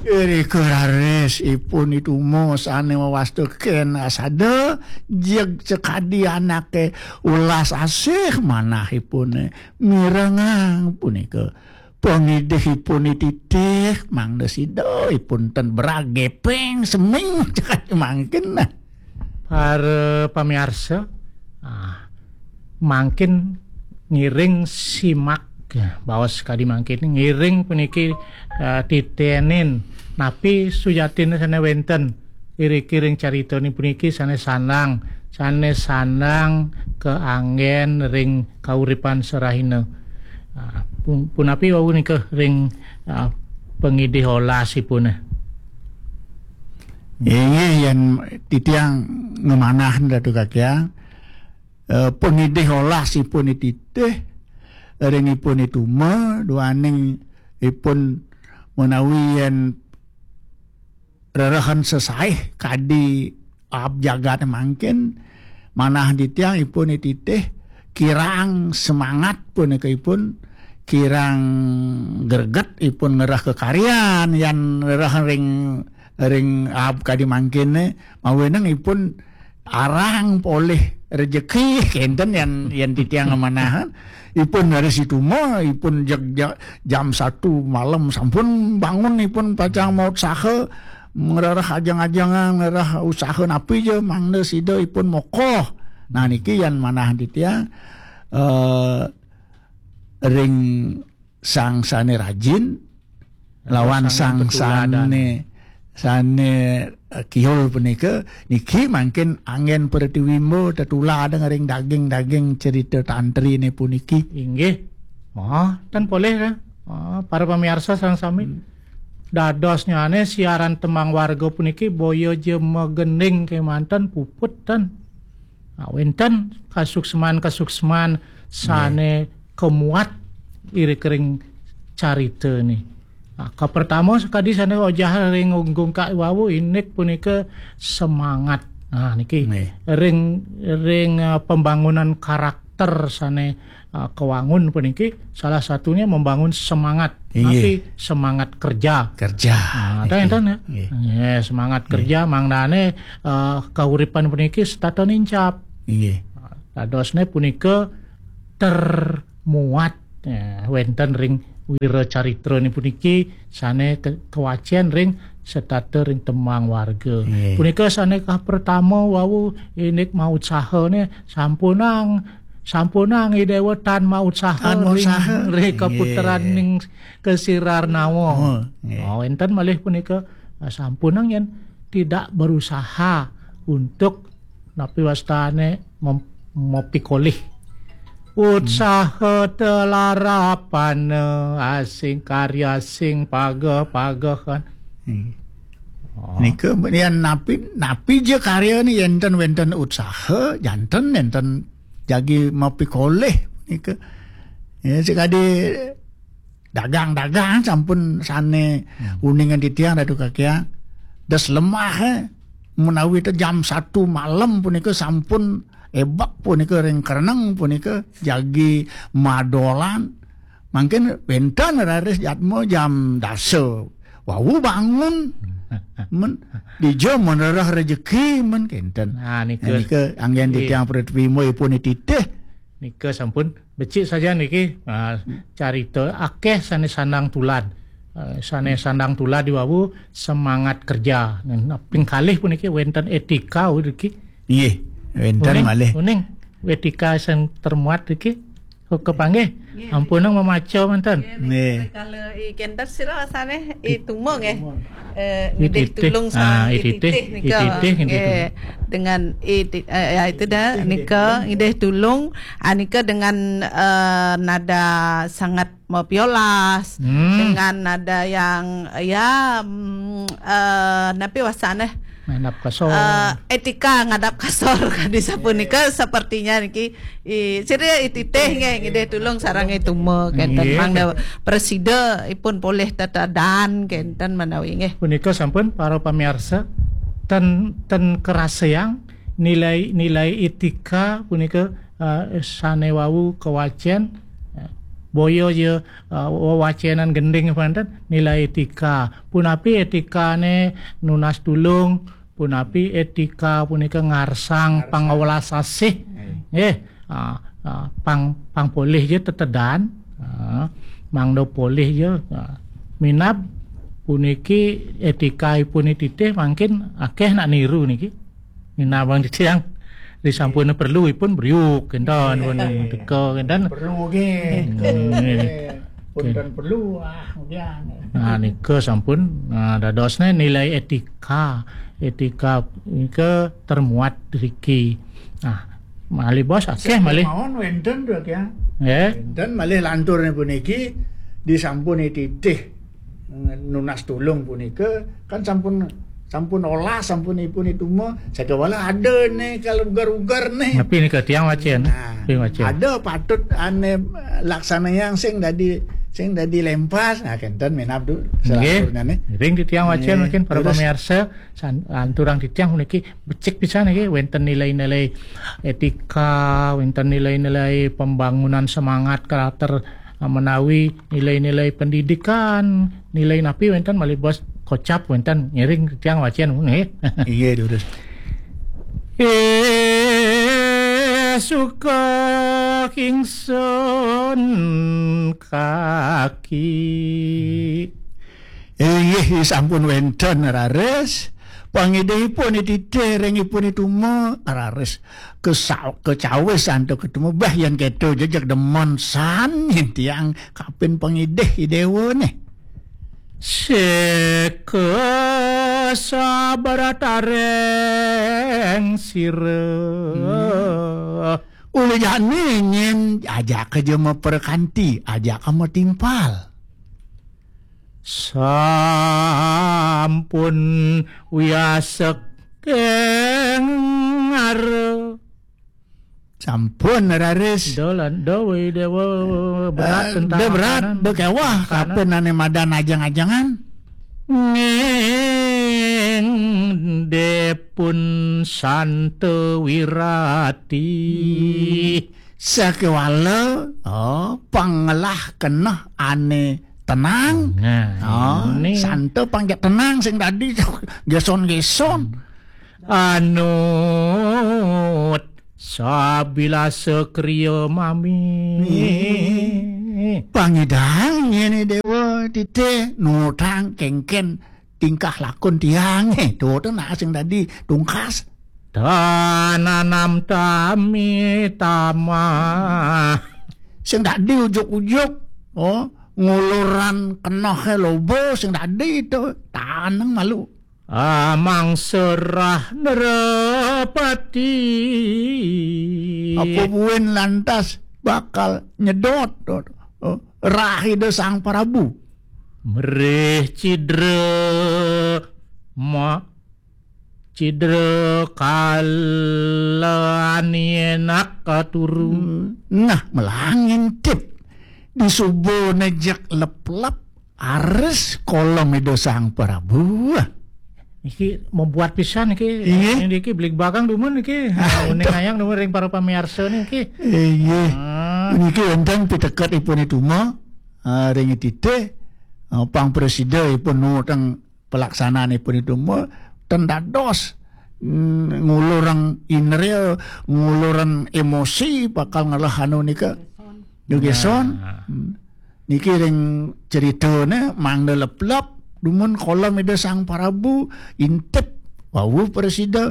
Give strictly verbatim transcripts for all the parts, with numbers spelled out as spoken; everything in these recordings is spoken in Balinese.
Irika raris ipun I Tuma sané wawasta kén asada, jeg sakadi anaké welas asih manahipune mirengang punika pangidihipun I Titih, mangda sida ipun ten berag gepeng seming cekadi mangkin. Para pamiarsa, ah, mangkin ngiring simak, ya, baos kadi mangkin, ngiring puniki, eh, titenin napi sujatinne sane wenten iriki ring caritane puniki sane sandang, sane sandang kaanggen ring kauripan serahina. Ah, pun-, punapi wau nika ring, ah, pangidih olasipune? Inggih, yen titiang ngemanah Ratu Kakiang, eh, pangidih olasipun I Titih, ring ipun I Tuma, duaning ipun menawi yen rerehen sesaih kadi aab jagat mangkin, manah titiang ipun I Titih kirang semangat punika ipun, kirang greget ipun ngerah kekaryan, yan ngerah ring, ring aab kadi mangkinne, mawinan ipun arang polih rejeki, kenten yan, yan titiang ngemanahan. Ipun dari situma, ipun jeg-, ja-, jam satu malam sampun bangun, ipun pacang mautsaha, ngrereh ajeng-ajengan, ngrereh usaha napi ja, mangda sida ipun mokoh. Nah, niki yan manah titiang, eh, ring sang sane rajin, lawan sang sane, sane, eh, kiul punika, niki mangkin anggen pratiwimba tetuladan ring daging-daging cerita tantrine puniki. Inggih. Oh, tan polih, ya. Oh, para pamiarsa sareng sami. Hmm. Dadosnyane siaran Tembang Warga puniki boya ja magending kemanten puput tan. Nah, wenten kasuksman-kasuksman sane kemuat iri kering carita ni. Nah, kapertama sakadi sane ojah ring unggung kak wau indik punika semangat. Nah, niki ring, ring, eh, pembangunan karakter sane, eh, kewangun puniki salah satunya membangun semangat. Inggih. Tapi semangat kerja. Kerja. Nah, enten, enten, ya. Nggih. Nggih, semangat kerja mangdane, eh, kauripan puniki setata nincap. Inggih. Dadosne punika termuat, ya, wenten ring wira caritrane puniki sane ke-, kawacen ring setata ring Tembang Warga. Nggih. Punika sane kapertama wau indik mautsahane sampunang, sampunang Idewa tan mautsahane ring, ring kaputeraning Kasirarnawa. Oh, nggih. Oh, wenten malih punika, ah, sampunang yen tidak berusaha untuk napi wastane mem-, mapikolih. Utsaha telarapana asing karya sing pageh-pagehan. Hmm. Oh. Nika yen napi, napi ja karyane yen ten wenten utsaha, janten nenten jagi mapikolih nika. Ya, sekadi dagang-dagang sampun sane uningan titiang Ratu Kakiang. Des lemah, eh. Menawi te jam satu malam punika sampun ebak punika ring kereneng punika jagi madolan. Mangkin wenten raris jatma jam dasa. Wau bangun. Men dija menerah rejeki men kenten. Nah, nika. Nah, nika anggen titiang pratiwimba ipun titih. Nika sampun becik saja niki, ah, carita akeh sane sandang tulad. Ah, sane sandang tulad diwawu semangat kerja. Nah, ping kalih puniki wenten etika niki. Nggih, wenten malih. Uning, etika sing termuat niki. Oh, kepanggih. Nggih. Ampun mamaca manten. Nggih. Kala i kenten sira asane i Tuma nggih. Eh, ngidih tulung sareng i Titih nika. I Titih, nggih. Dengan i Ti-, eh, ya, itu dah, nika ngidih tulung, ah, nika dengan, eh, nada sangat mapiolas, dengan nada yang, ya, mm, eh, napi wasane? Ngadap kasor. Eh, etika ngadap kasor kadi sapunika sepertinya niki. I, sira i Titih nggih, ngidih tulung sareng i Tuma kenten. Nggih. Mangda prasida ipun polih tetedan kenten menawi nggih. Punika sampun para pamiarsa, ten, ten keraseang nilai, nilai etika punika, eh, sane wau kawacen, eh, boya ya, eh, wewacénan gending panten nilai étika. Punapi étikané nunas tulung, punapi étika punika ngarsang pangawelas asih. Nggih, ah, ah, pang, pang polih ya tetedan, ah, mangda polih ya, ah, minab puniki étika ipun titih mangkin akéh nak niru niki. Minab bang titiang disampun perlu ipun briuk kénten pun teka kénten. Perlu nggih. Hmm, nggih. Pun kan perlu, ah, kemudian. Nah, nika sampun, nah, dadosné nilai étika. Étika nika termuat riki. Nah, malih bos akéh malih. Mawon wénten tuh ya. Nggih. Wénten malih lanturnya puniki disampun titih nunas tulung punika kan sampun sampun olah sampun ipun itu mah sakewala ada nih kalau ugar-ugar nih. Tapi nika tiang wacén. Nah, tiang wacén. Ada patut ané laksanayang sing dadi sing dadi lempas. Nah, kénten minab du nggih. Selanturnya nih. Ring titiang wacén nggih. Mungkin para terus pamiarsa san, anturang titiang puniki becik pisan niki wénten nilai-nilai étika, wénten nilai-nilai pembangunan semangat karakter menawi nilai-nilai pendidikan, nilai napi wénten malih bos kocap wénten ngiring tiang wacén nggih. Iya, durus. Eh, suka kingsun kaki. Inggih sampun wénten raris. Pangidihipun titih ring ipun ituma raris. Kesa-, kecawis antuk ketemu bah yén kéto jejeg demen san yén tiang kapin pangidih i déwa nih. Seka sabarataring sira. Hmm. Uli jani nyén ajaka ja maperkanti, ajaka matimpal. Sampun wiasek kengara. Sampun raris. Do lan do wé déwa berat. Eh, tentang do berat, makanan. Do kéweh makanan. Kapan ané madan ajeng-ajengan. Ning depun santa wirati. Hmm. Sakewala, oh, pangelah keneh ané tenang. Nah, oh, ini. Santa pang jak tenang sing dadi geson-geson. Anut sabilasa kriya mami. Nih. Pangidang yén déwa titih nutang kéngkén tingkah lakun tiangé. Tuh, tuh nah sing dadi tungkas. Tananam tami tamah. Sing dadi ujuk-ujuk. Oh, nguluran kenohé loba sing dadi itu. Taneng malu. Amang serah nerepati. Apa buin lantas bakal nyedot, oh, rah Ida Sang Prabu. Mrih cidra ma-, cidra kalawan yenak katuru. Hmm. Nah, melangintip di suba nejek leplep ares kolom Ida Sang Prabu. Iki membuat pisan iki. Iya. Ini iki belik bakang dumun iki. Ah, uning ayang dumun ring para pamiarsa niki. Iya. Ah. Niki wonten piteket ipun ituma, ah, ring titih, ah, pang presida ipun nu teng pelaksanaan ipun itu mah ten dados, mm, ngulurang indria, ngulurang emosi bakal ngelah anu nika. Gegeson. Nah. Mm. Niki ring ceritane mangda leplep dumun kolom Ida Sang Prabu intip wau presida.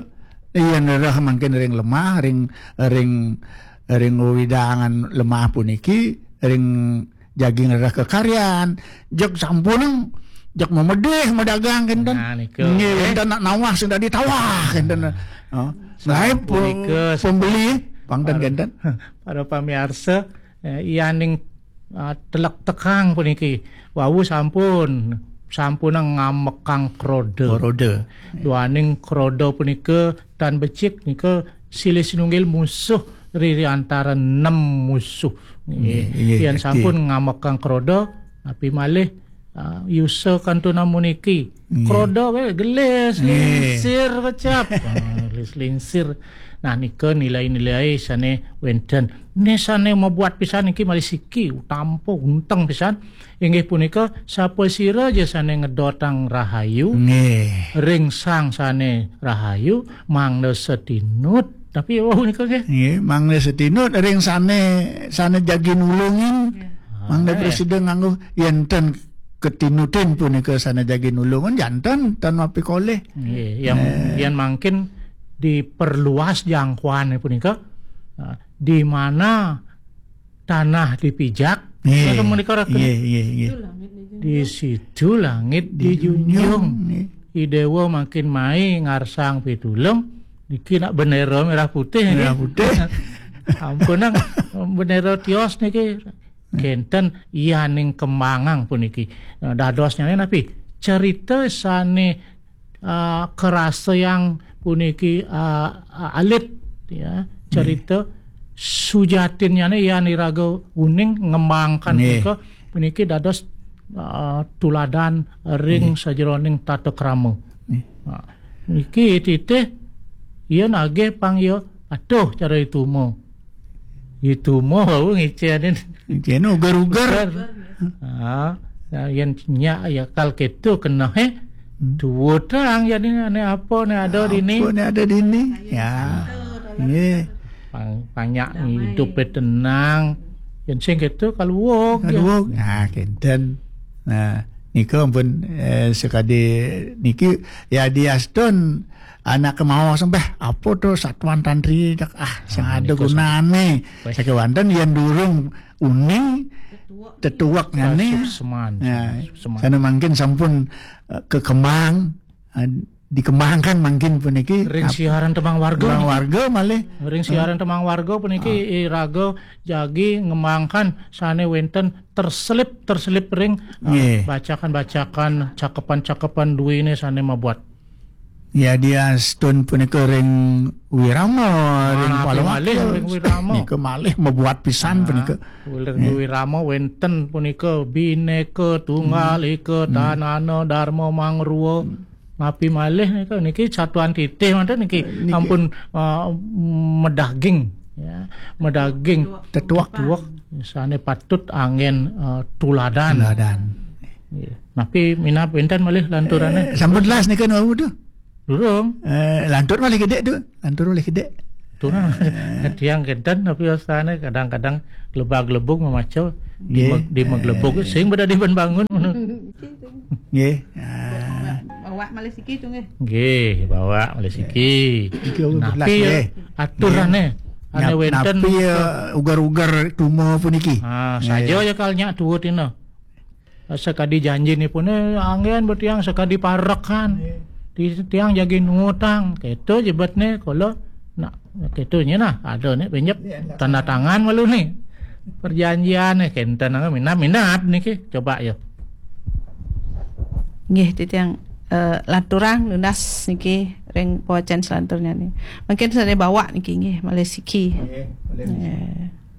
Iya nerah mangkin ring lemah, ring, ring, ring wewidangan lemah puniki, ring jagi ngrereh kekaryan, jeg sampuneng, jeg memedih medagang kenten. Nah, niku. Nggih, kenten nak nawah sing dadi tawah kenten. Oh, sampun pembeli pangten kenten. Para pamiarsa, eh, yaning, ah, telek tekang puniki. Wau sampun, sampuneng ngamekang kroda. Kroda. Duaning kroda punika tan becik nika silih sinunggil musuh riri antara nem musuh. Nggih, nggih, yen sampun ngamekang kroda, napi malih, ah, yusa kantun namun iki. Nggih. Kroda wae gelis, nggih, lingsir kecap. Ah, Selingsir. Nah, nika nilai-nilai sane wenten. Ne sane mabuat pisan niki malih siki, utampa unteng pisan. Inggih punika, sapasira ja sane ngedotang rahayu, Nggih. ring sang sane rahayu, mangda setinut. Tapi wau nika nggih. Nggih, mangda setinut ring sane, sane jagi nulungin. Mangda Ah, prasida nganggo yen ten ketinutin punika sane jagi nulungan, janten tan mapikolih. Nggih, yang, Nah. yang mangkin diperluas jangkauan punika, ah, di mana tanah dipijak, Nggih. Nggih, menika raken. Nggih, nggih, nggih. Di situ langit dijunjung. Dijunjung, nggih. I Dewa makin mai ngarsang pitulung, niki nak bendera merah putih nggih. Merah putih. Ampun nang bendera tios niki. Kenten yaning kemangang puniki. Nah, dadosnyane napi? Cerita sane, ah, karasa yang puniki, ah, ah, alit, ya. Cerita sujatinnyane yan iraga uning ngembangkan Nggih. punika, puniki dados, ah, tuladan ring Nggih. sajeroning tata krama. Nggih. Nah, niki titih iya nagih pang iya patuh cara ituma. Ituma wau ngicen. Ngicen uger-uger. Uger. Ah, ya, yen nyak ya kal keto kena, eh. Hmm. Tuwutang jadi ane apa ne ada Apa dini? Ne ada dini? Ya. Nggih. Pang-, banyak hidup tenang. Yen sing keto kaluwuk, ya. Kaluwuk. Nah, kenten. Nah, nika ampun, eh, sekadi niki ya diastun anak kemawos sembah apa to satuan tantri dak, ah, sing Ah, ada nika gunane. Wes. Sakewanten yen durung uning tetuwek ngene. Sukseman, Ya, sukseman. Sana mangkin sampun, eh, kekembang, eh, dikembangkan mangkin puniki. Ring Ap-, siaran tembang warga tembang niki. Warga malih. Ring siaran tembang warga puniki Ah. iraga jagi ngembangkan sane wenten terselip, terselip ring, eh, Nggih. bacakan-bacakan, cakepan-cakepan duwene sane mabuat. Ya, diastun punika ring Wirama, ring Ah, Palawak, malih ya, ring Wirama. Nika malih mabuat pisan Ah, punika. Ring Nggih. Wirama wenten punika Bhinneka Tunggal Hmm. Ika, Hmm. Dhanana Dharma Mangrua. Hmm. Napi malih nika, niki satuan titih manten niki. Niki. Ampun, ah, medaging, ya. Medaging Tetuwek. Tetuwek sane patut anggen, ah, tuladan. Tuladan. Nggih. Napi minab wenten malih lanturane? Eh, sampun las nika nuwun tu. Durung. Eh, lantur malih gedek tu. Lantur malih gedek. Turun. Eh. Tiang kenten tapi astane kadang-kadang glebag-glebug memaca di Nggih. me-, di meglebug Eh. sing pada diban bangun. Nggih. Ah. Bawa malih siki tu nggih. Nggih, bawa malih siki. Iki aku Napi belas, ya nggih. aturane? Ane Nap-, wenten napi ya ugar-ugar tuma puniki? Ah, Nggih. saja ya kal nyak tuwut ina. Sakadi janjinipune anggen betiang sakadi parekan. Nggih. Di tiang jagi nutang. Keto jebetne kala nak keto nye nah, ada ne pinjep Iya, enggak. tanda tangan malu ni. Perjanjian ne kenten minat-minat niki. Coba ya. Nggih, titiang, eh, lanturang lunas niki ring pawacen selanturnya ni. Mungkin sane bawa niki nggih, malih siki. Nggih, malih siki. Eh.